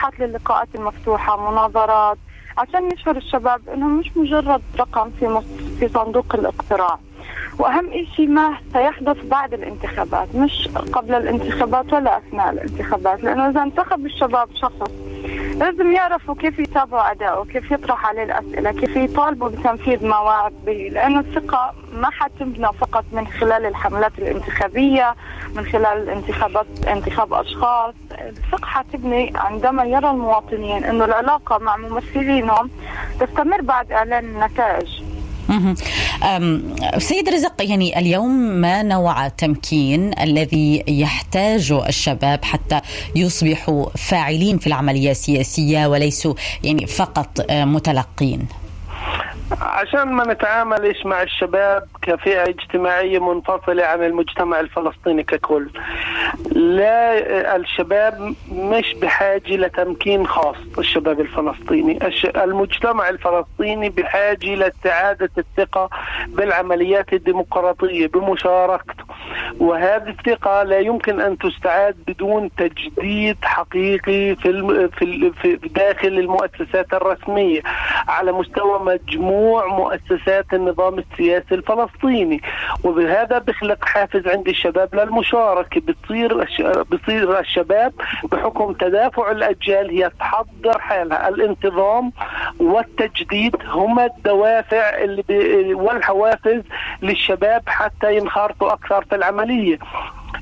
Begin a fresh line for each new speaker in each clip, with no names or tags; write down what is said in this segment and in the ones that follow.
مساحات للقاءات المفتوحة، مناظرات، عشان يشعر الشباب انهم مش مجرد رقم في صندوق الاقتراع. واهم شيء ما سيحدث بعد الانتخابات، مش قبل الانتخابات ولا اثناء الانتخابات، لانه اذا انتخب الشباب شخص لازم يعرفوا كيف يتابعوا اداؤه، كيف يطرح عليه الاسئله، كيف يطالبوا بتنفيذ ما وعد به، لانه الثقه ما حتبنى فقط من خلال الحملات الانتخابيه، من خلال الانتخابات، انتخاب اشخاص. الثقه حتبني عندما يرى المواطنين انه العلاقه مع ممثلينهم تستمر بعد اعلان النتائج.
سيد رزق، يعني اليوم ما نوع التمكين الذي يحتاجه الشباب حتى يصبحوا فاعلين في العملية السياسية وليسوا يعني فقط متلقين؟
عشان ما نتعاملش مع الشباب كفئة اجتماعية منفصلة عن المجتمع الفلسطيني ككل. لا، الشباب مش بحاجة لتمكين خاص. الشباب الفلسطيني، المجتمع الفلسطيني بحاجة لاستعادة الثقة بالعمليات الديمقراطية بمشاركته، وهذه الثقة لا يمكن أن تستعاد بدون تجديد حقيقي في داخل المؤسسات الرسمية على مستوى مجموع مؤسسات النظام السياسي الفلسطيني. وبهذا بخلق حافز عند الشباب للمشاركة. بصير الشباب بحكم تدافع الأجيال هي تحضر حالها. الانتظام والتجديد هما الدوافع والحوافز للشباب حتى ينخرطوا أكثر في العملية.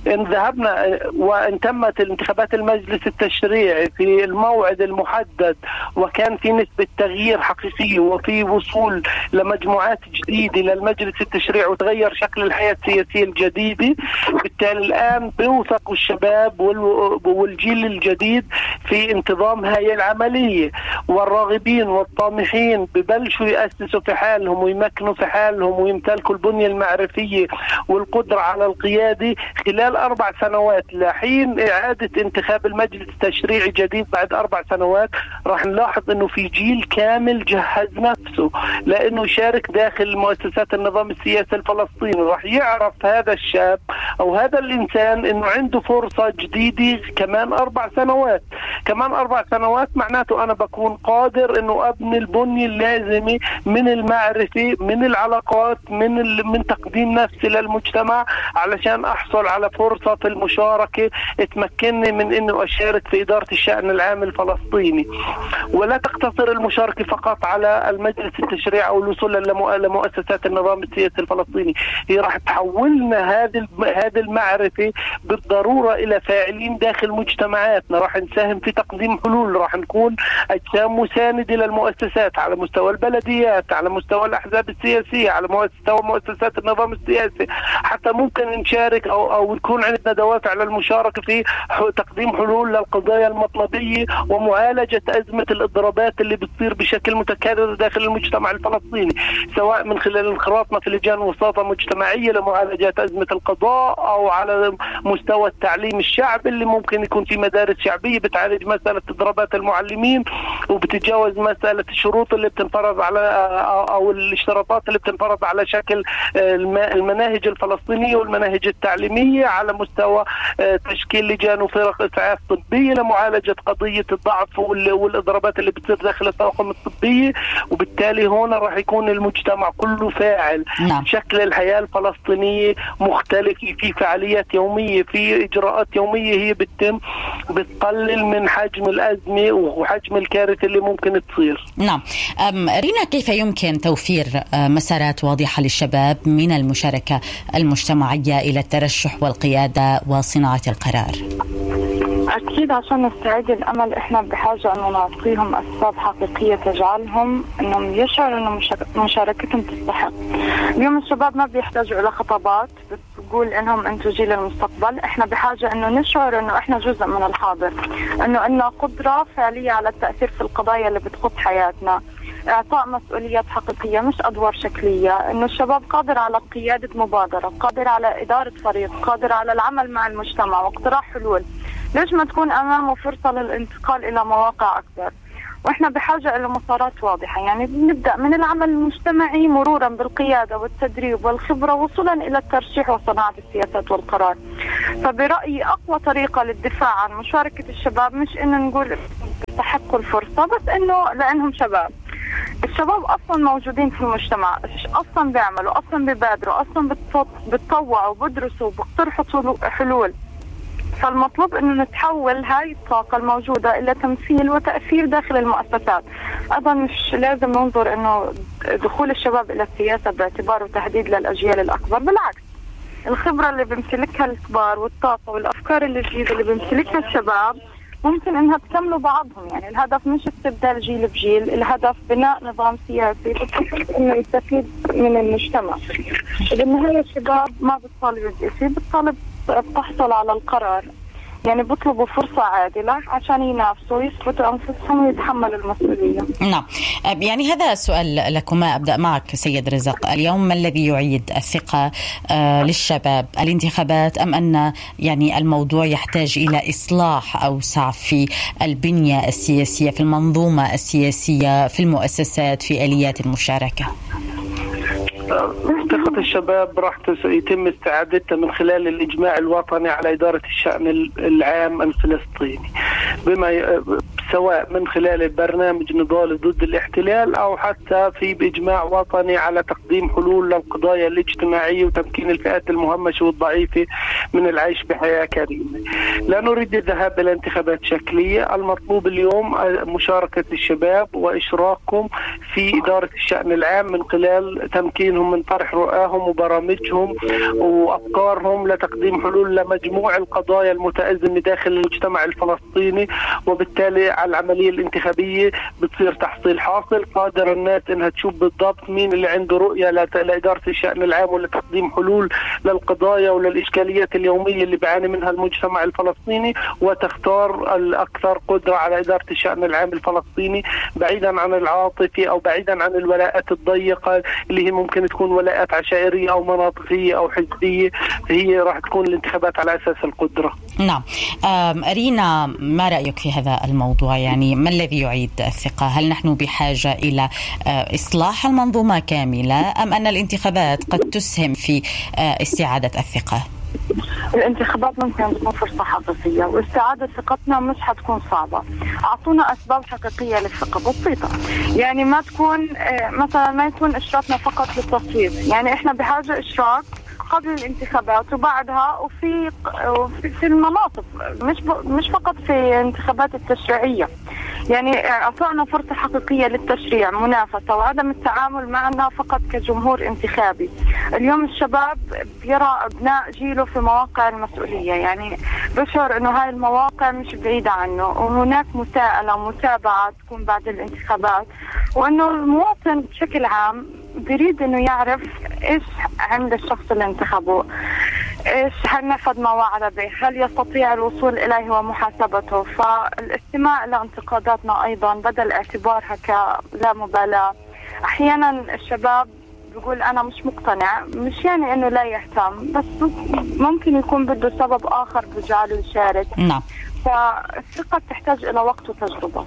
إن ذهبنا وإن تمت الانتخابات المجلس التشريعي في الموعد المحدد وكان في نسبة تغيير حقيقي وفي وصول لمجموعات جديدة للمجلس التشريعي وتغير شكل الحياة السياسية الجديدة، بالتالي الآن بيوثق الشباب والجيل الجديد في انتظام هاي العملية، والراغبين والطامحين ببلشوا يأسسوا في حالهم ويمكنوا في حالهم ويمتلكوا البنية المعرفية والقدرة على القيادة خلال 4 سنوات. لحين إعادة انتخاب المجلس التشريعي جديد بعد 4 سنوات راح نلاحظ أنه في جيل كامل جهز نفسه لأنه يشارك داخل مؤسسات النظام السياسي الفلسطيني. راح يعرف هذا الشاب أو هذا الإنسان أنه عنده فرصة جديدة كمان 4 سنوات. كمان 4 سنوات معناته أنا بكون قادر أنه أبني البنية اللازمة من المعرفة، من العلاقات، من تقديم نفسي للمجتمع علشان أحصل على فرصة في المشاركة تمكنني من أنه أشارك في إدارة الشأن العام الفلسطيني. ولا تقتصر المشاركة فقط على المجلس التشريعي أو الوصول لمؤسسات النظام السياسي الفلسطيني، هي راح تحولنا هذه المعرفة بالضرورة إلى فاعلين داخل مجتمعاتنا. راح نساهم في تقديم حلول، راح نكون أجسام مساندة للمؤسسات على مستوى البلديات، على مستوى الأحزاب السياسية، على مستوى مؤسسات النظام السياسي، حتى ممكن نشارك أو يكون عندنا دوافع للمشاركة في تقديم حلول للقضايا المطلبية ومعالجة أزمة الإضرابات اللي بتصير بشكل متكرر داخل المجتمع الفلسطيني، سواء من خلال انخراطنا في لجان وساطة مجتمعية لمعالجة أزمة القضاء أو على مستوى التعليم الشعبي اللي ممكن يكون في مدارس شعبية بتعالج مسألة إضرابات المعلمين وبتتجاوز مسألة الشروط اللي بتنفرض على أو الاشتراطات اللي بتنفرض على شكل المناهج الفلسطينية والمناهج التعليمية، على مستوى تشكيل لجان وفرق إسعاف طبية لمعالجة قضية الضعف والإضرابات اللي بتصير داخل الطواقم الطبية. وبالتالي هنا راح يكون المجتمع كله فاعل.
نعم.
شكل الحياة الفلسطينية مختلف، في فعاليات يومية، في إجراءات يومية هي بتقلل من حجم الأزمة وحجم الكارثة اللي ممكن تصير.
نعم. رينا، كيف يمكن توفير مسارات واضحة للشباب من المشاركة المجتمعية إلى الترشح والقيادة وصناعة القرار؟
أكيد عشان نستعيد الأمل إحنا بحاجة أنه نعطيهم أسباب حقيقية تجعلهم أنهم يشعروا أن مشاركتهم تستحق. اليوم الشباب ما بيحتاجوا إلى خطابات بتقول إنهم أنتوا جيل المستقبل. إحنا بحاجة أنه نشعر أنه إحنا جزء من الحاضر، أنه عندنا قدرة فعلية على التأثير في القضايا اللي بتخص حياتنا، إعطاء مسؤوليات حقيقية مش أدوار شكلية، إنه الشباب قادر على قيادة مبادرة، قادر على إدارة فريق، قادر على العمل مع المجتمع واقتراح حلول. ليش ما تكون أمامه فرصة للانتقال إلى مواقع أكبر؟ وإحنا بحاجة إلى مسارات واضحة. يعني نبدأ من العمل المجتمعي مرورا بالقيادة والتدريب والخبرة وصولا إلى الترشيح وصناعة السياسات والقرار. فبرأيي أقوى طريقة للدفاع عن مشاركة الشباب مش إنه نقول يستحقوا الفرصة، بس إنه لأنهم شباب. الشباب أصلا موجودين في المجتمع، أصلا بيعملوا، أصلا بيبادروا، أصلا بتطوعوا، بدرسوا، بيقترحوا حلول. فالمطلوب إنه نتحول هاي الطاقة الموجودة إلى تمثيل وتأثير داخل المؤسسات. أيضا مش لازم ننظر إنه دخول الشباب إلى السياسة باعتباره تهديد للأجيال الأكبر، بالعكس الخبرة اللي بيمتلكها الكبار والطاقة والأفكار الجديدة اللي بيمتلكها الشباب ممكن انها تكملوا بعضهم. يعني الهدف مش استبدال جيل بجيل، الهدف بناء نظام سياسي بحيث انه يستفيد من المجتمع. بالنهاية الشباب ما بتطالب بشيء، بتطالب تحصل على القرار. يعني بيطلبوا فرصة عادلة عشان ينافسوا، يثبتوا أنفسهم ويتحملوا المسؤولية.
نعم، يعني هذا سؤال لكما. أبدأ معك سيد رزق. اليوم ما الذي يعيد الثقة للشباب؟ الانتخابات أم أن يعني الموضوع يحتاج إلى إصلاح أوسع في البنية السياسية، في المنظومة السياسية، في المؤسسات، في آليات المشاركة؟
ثقة الشباب راح يتم استعادتها من خلال الإجماع الوطني على إدارة الشأن العام الفلسطيني، سواء من خلال البرنامج نضال ضد الاحتلال أو حتى في بإجماع وطني على تقديم حلول للقضايا الاجتماعية وتمكين الفئات المهمشة والضعيفة من العيش بحياة كريمة. لا نريد الذهاب إلى انتخابات شكلية. المطلوب اليوم مشاركة الشباب وإشراكهم في إدارة الشأن العام من خلال تمكينهم من طرح رؤاهم وبرامجهم وأفكارهم لتقديم حلول لمجموع القضايا المتأزمة داخل المجتمع الفلسطيني. وبالتالي على العملية الانتخابية بتصير تحصيل حاصل، قادر الناس انها تشوف بالضبط مين اللي عنده رؤية لإدارة الشأن العام ولتقديم حلول للقضايا وللإشكاليات اليومية اللي بيعاني منها المجتمع الفلسطيني، وتختار الأكثر قدرة على إدارة الشأن العام الفلسطيني بعيدا عن العاطفة أو بعيدا عن الولاءات الضيقة اللي هي ممكن تكون ولاءات عشائرية أو مناطقية أو حزبية. هي راح تكون الانتخابات على أساس القدرة.
نعم. رينا، ما رأيك في هذا الموضوع؟ يعني ما الذي يعيد الثقة؟ هل نحن بحاجة إلى إصلاح المنظومة كاملة أم أن الانتخابات قد تسهم في استعادة الثقة؟
الانتخابات ممكن تكون فرصة حقيقية، واستعادة ثقتنا مش حتكون صعبة. أعطونا أسباب حقيقية للثقة بسيطة. يعني ما تكون مثلا ما يكون إشراكنا فقط للتصويت. يعني إحنا بحاجة إشراك قبل الانتخابات وبعدها وفي المناطق، مش فقط في الانتخابات التشريعية. يعني أعطونا فرصة حقيقية للتشريع، منافسة، وعدم التعامل معنا فقط كجمهور انتخابي. اليوم الشباب يرى أبناء جيله في مواقع المسؤولية، يعني بشعر أنه هاي المواقع مش بعيدة عنه، وهناك مساءلة متابعة تكون بعد الانتخابات، وأنه المواطن بشكل عام بريد أنه يعرف إيش عند الشخص اللي انتخبه، إيش هل نفذ ما وعد به، هل يستطيع الوصول إليه ومحاسبته. فالاستماع لانتقاداتنا أيضا بدل اعتبارها كلا مبالاة. أحيانا الشباب بيقول أنا مش مقتنع، مش يعني أنه لا يهتم، بس ممكن يكون بده سبب آخر بجعله يشارك.
نعم.
فالثقة تحتاج إلى وقت وتجربة.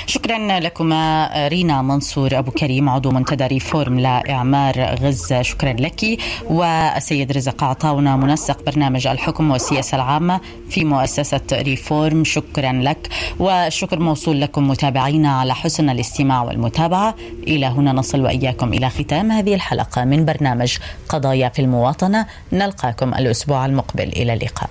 شكرا لكما رينا منصور أبو كريم، عضو منتدى ريفورم لإعمار غزة، شكرا لك. والسيد رزق عطاونا، منسق برنامج الحكم والسياسة العامة في مؤسسة ريفورم، شكرا لك. والشكر موصول لكم متابعينا على حسن الاستماع والمتابعة. إلى هنا نصل وإياكم إلى ختام هذه الحلقة من برنامج قضايا في المواطنة. نلقاكم الأسبوع المقبل، إلى اللقاء.